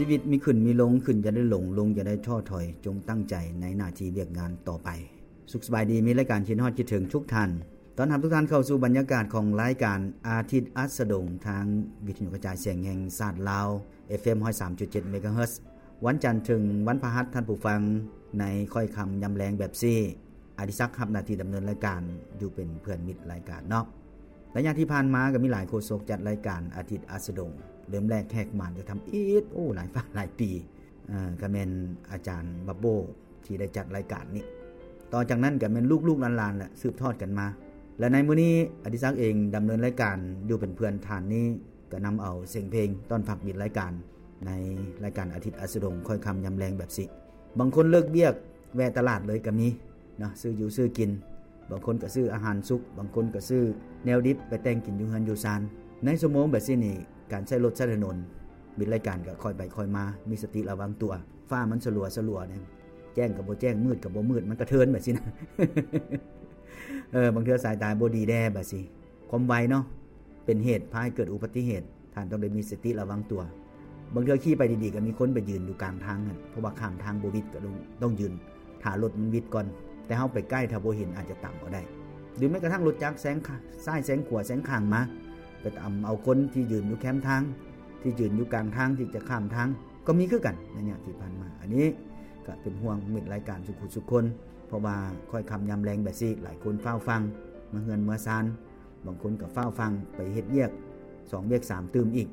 ຊີວິດມີຂຶ້ນມີລົງ, ຂຶ້ນຢ່າໄດ້ຫຼົງ, ລົງຢ່າໄດ້ທໍ້ຖອຍ, ຈົ່ງຕັ້ງໃຈໃນໜ້າທີ່ວຽກງານຕໍ່ໄປ. ສຸກສະບາຍດີ, ມີລາຍການຄິດຮອດຄິດເຖິງທຸກທ່ານ. ຕ້ອນຮັບທຸກທ່ານເຂົ້າສູ່ບັນຍາກາດຂອງລາຍການອາທິດອັດສະດົງ ທາງວິທະຍຸກະຈາຍສຽງແຫ່ງຊາດລາວ ເອັຟເອັມ ຮ້ອຍສາມຈຸດເຈັດ ເມກາເຮີດ. ວັນຈັນເຖິງວັນພະຫັດ, ທ່ານຜູ້ຟັງ, ໃນຄ່ອຍຄ່ຳຍາມແລງແບບຊີ້, ອະດິສັກຮັບໜ້າທີ່ດຳເນີນລາຍການ ຢູ່ເປັນເພື່ອນມິດລາຍການເນາະ. ໄລຍະທີ່ຜ່ານມາກໍມີຫຼາຍໂຄສົກຈັດລາຍການອາທິດອັດສະດົງ, ເລີ່ມແລກແຂກມາກໍທຳອິດ, ໂອ້ ຫຼາຍຟ້າຫຼາຍປີ, ເອີ ກໍແມ່ນອາຈານບັບໂບ້ ທີ່ໄດ້ຈັດລາຍການນີ້. ຕໍ່ຈາກນັ້ນກໍແມ່ນລູກໆຫຼານໆແຫຼະ ສືບທອດກັນມາ. ແລະ ໃນມື້ນີ້ອະດິສັກເອງດຳເນີນລາຍການຢູ່ເປັນເພື່ອນທ່ານນີ້, ກໍນຳເອົາສຽງເພງຕ້ອນຮັບມິດລາຍການ ໃນລາຍການອາທິດອັດສະດົງ ຄ່ອຍຄ່ຳຍາມແລງແບບຊີ້. ບາງຄົນເລີກວຽກແວ່ຕະຫຼາດເລີຍກໍມີເນາະ, ຊື້ຢູ່ຊື້ກິນ. ບາງຄົນກໍຊື້ອາຫານສຸກ, ບາງຄົນກໍຊື້ແນວດິບໄປແຕ່ງກິນຢູ່ເຮືອນຢູ່ຊານ. ໃນຊົ່ວໂມງແບບຊີ້ນີ້, ການໃຊ້ລົດໃຊ້ຖະໜົນ, ມິດລາຍການກໍຄ່ອຍໄປຄ່ອຍມາ, ມີສະຕິລະວັງຕົວ. ຟ້າມັນສະຫຼົວສະຫຼວແດ່, ແຈ້ງກໍບໍ່ແຈ້ງ, ມືດກໍບໍ່ມືດ, ມັນກະເທີນແບບຊີ້ນະ. ເອີ ບາງເທື່ອສາຍຕາບໍ່ດີແດ່ແບບຊີ້. ຄວາມໄວເນາະ ເປັນເຫດພາໃຫ້ເກີດອຸບັດຕິເຫດ, ທ່ານຕ້ອງໄດ້ມີສະຕິລະວັງຕົວ. ບາງເທື່ອຂີ່ໄປດີໆ ກໍມີຄົນໄປຢືນຢູ່ກາງທາງຫັ້ນ, ເພາະວ່າຂ້າມທາງບໍ່ຫວິດ ກໍຕ້ອງ ຕ້ອງຢືນຖ້າລົດມັນຫວິດກ່ອນ. ແຕ່ເຮົາໄປໃກ້, ຖ້າບໍ່ເຫັນອາດຈະຕຳເອົາໄດ້. ຫຼືແມ້ກະທັ່ງລົດຈັກແຊງຂ- ຊ້າຍແຊງຂວາແຊງຂ້າງມາ, ໄປຕຳເອົາຄົນທີ່ຢືນຢູ່ແຄມທາງ, ທີ່ຢືນຢູ່ກາງທາງທີ່ຈະຂ້າມທາງ ກໍມີຄືກັນໃນໄລຍະທີ່ຜ່ານມາ. ອັນນີ້ກໍເປັນຫ່ວງມິດລາຍການສຸກຜູ້ສຸກຄົນ, ເພາະວ່າຄ່ອຍຄ່ຳຍາມແລງແບບຊີ້, ຫຼາຍຄົນຟ້າວຟັ່ງມາເຮືອນເມືອຊານ. ບາງຄົນກໍຟ້າວຟັ່ງໄປເຮັດວຽກສອງວຽກສາມຕື່ມອີກ,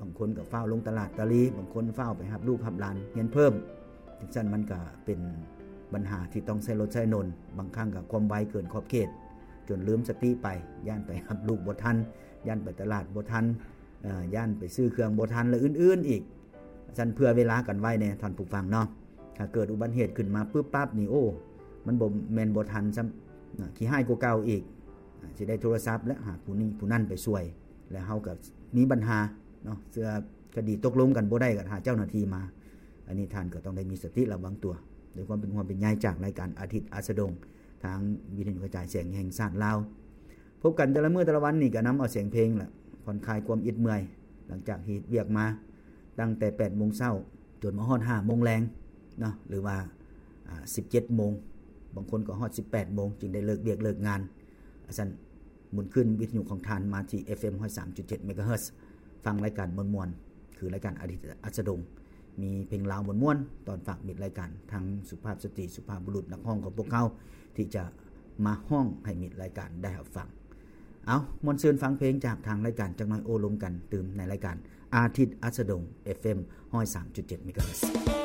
ບາງຄົນກໍຟ້າວລົງຕະຫຼາດຕະລີ, ບາງຄົນຟ້າວໄປຮັບລູກຮັບຫຼານຮຽນເພີ່ມ. ຈັ່ງຊັ້ນມັນກໍເປັນບັນຫາທີ່ຕ້ອງໃຊ້ລົດໃຊ້ຖະໜົນ, ບາງຄັ້ງກໍຄວາມໄວເກີນຂອບເຂດ ຈົນລືມສະຕິໄປ, ຢ້ານໄປຮັບລູກບໍ່ທັນ, ຢ້ານໄປຕະຫຼາດບໍ່ທັນ, ເອີ ຢ້ານໄປຊື້ເຄື່ອງບໍ່ທັນ ແລະ ອື່ນໆອີກ. ຊັ້ນເຜື່ອເວລາກັນໄວ້ແດ່ທ່ານຜູ້ຟັງເນາະ. ຖ້າເກີດອຸບັດຕິເຫດຂຶ້ນມາປຶບປັບນີ້, ໂອ້ ມັນບໍ່ແມ່ນບໍ່ທັນຊ້ຳ, ນະ ຂີ້ຮ້າຍກວ່າເກົ່າອີກ. ອາ ຊິໄດ້ໂທລະສັບແລ້ວຫາຜູ້ນີ້ຜູ້ນັ້ນໄປຊ່ວຍ, ແລ້ວເຮົາກໍມີບັນຫາເນາະ, ເທື່ອຄະດີຕົກລົງກັນບໍ່ໄດ້ ກໍຫາເຈົ້າໜ້າທີ່ມາ. ອັນນີ້ທ່ານກໍຕ້ອງໄດ້ມີສະຕິລະວັງຕົວ. ດ້ວຍຄວາມເປັນຫ່ວງເປັນໃຍຈາກລາຍການອາທິດອັດສະດົງ ທາງວິທະຍຸກະຈາຍສຽງແຫ່ງຊາດລາວ. ພົບກັນແຕ່ລະມື້ແຕ່ລະວັນນີ້ ກໍນຳເອົາສຽງເພງລະຜ່ອນຄາຍຄວາມອິດເມື່ອຍ ຫຼັງຈາກເຮັດວຽກມາ ຕັ້ງແຕ່ແປດໂມງເຊົ້າ ຈົນມາຮອດຫ້າໂມງແລງເນາະ ຫຼືວ່າ ອາ ສິບເຈັດໂມງ, ບາງຄົນກໍຮອດສິບແປດໂມງ ຈຶ່ງໄດ້ເລີກວຽກເລີກງານ. ອາ ຊັ້ນໝູນຄື້ນວິທະຍຸຂອງທ່ານມາທີ່ ເອັຟເອັມ ຮ້ອຍສາມຈຸດເຈັດ ເມກາເຮີດ, ຟັງລາຍການມ່ວນໆ ຄືລາຍການອາທິດອັດສະດົງ. ມີເພງລາວມ່ວນໆ ຕ້ອນຝາກມິດລາຍການ, ທັງສຸພາບສະຕີ ສຸພາບບຸລຸດ ນັກຮ້ອງຂອງພວກເຮົາ ທີ່ຈະມາຮ້ອງໃຫ້ມິດລາຍການໄດ້ຮັບຟັງ. ເອົາ, ມ່ວນຊື່ນຟັງເພງຈາກທາງລາຍການ, ຈັກໜ້ອຍໂອ້ລົມກັນຕື່ມໃນລາຍການອາທິດອັດສະດົງ ເອັຟເອັມ ຮ້ອຍສາມຈຸດເຈັດ ເມກາເຮີດ.